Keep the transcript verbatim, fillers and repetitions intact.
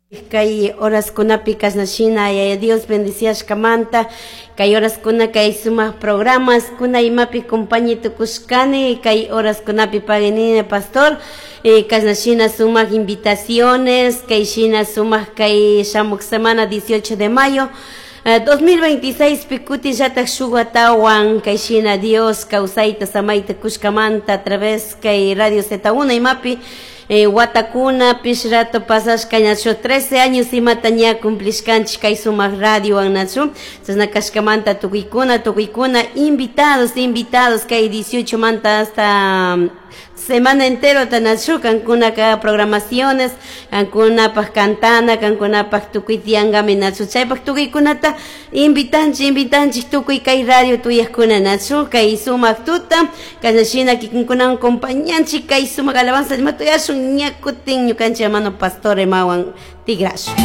Kay horaskunapi kashnashina Yaya Dios bendiciashkamanta kay horaskuna kay sumak programas kuna imapi compañi tukushkani kay horaskunapi paguinini pastor eh, kashnashina sumak invitaciones kay shina sumak kay shamuk semana dieciocho de mayo eh, dos mil veintiséis pikuti llatak shuk watawan kay shina Dios kawsayta samayta kushkamanta a través kay Radio Z uno imapi eh, watakuna pish rato pasashka ñachu trece años imata ña cumplishkanchik kay sumak radio nachu. Chashna kashkamanta tukuykuna tukuykuna invitados invitados kay dieciocho manta hasta um, semana entero tanachu kankunaka programaciones, kankunapaj cantana, kankunapaj tukuy tiyankami nachu. Chaypak tukuykunata invitanchik invitanchik tukuy kay radio tuyakuna nachu kay sumak tuta kashnashina kikinkunawan compañanchik kay sumak alabanza ima tuyashun. Ña kutin ñukanchik hermano pastor imawan tigrashun.